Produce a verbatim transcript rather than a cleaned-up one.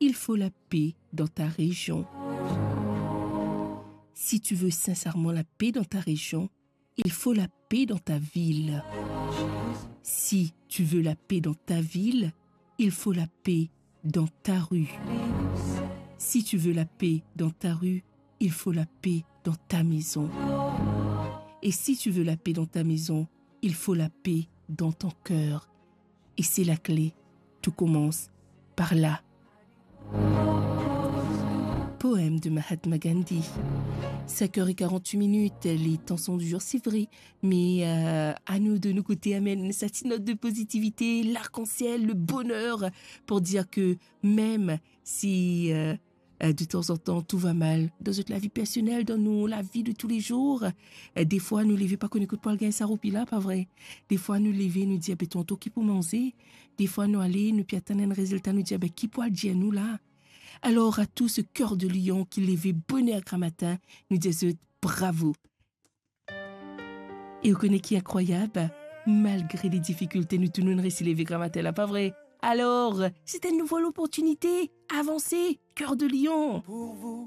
il faut la paix dans ta région. Si tu veux sincèrement la paix dans ta région, il faut la paix dans ta ville. Si tu veux la paix dans ta ville, il faut la paix dans ta rue. Si tu veux la paix dans ta rue, il faut la paix dans ta maison. Et si tu veux la paix dans ta maison, il faut la paix dans ton cœur. Et c'est la clé. Tout commence par là. Poème de Mahatma Gandhi. Cinq heures et quarante-huit minutes, les temps sont durs, c'est vrai, mais, euh, à nous de nous côté, amène cette note de positivité, l'arc-en-ciel, le bonheur, pour dire que même si, euh, euh, de temps en temps, tout va mal dans notre la vie personnelle, dans nos, la vie de tous les jours, euh, des fois, nou leve pa kone kot pou al gagn sa roupi la, pa vre? Des fois, nou leve, nou dir, "Be tonton, ki pou manze?" Des fois, nou ale, nou pe atann enn rezilta, nou dir, "Be ki pou al dir nou la?" Alors, à tout ce cœur de lion ki leve boner gramatin, nou dir zot bravo. E ou kone ki inkrwayab? Malgre les difficultés, nou tou nou resi leve gramatin la, pa vre? Alors, c'est une nouvelle opportunité. Avansez, cœur de lion. Pour vous,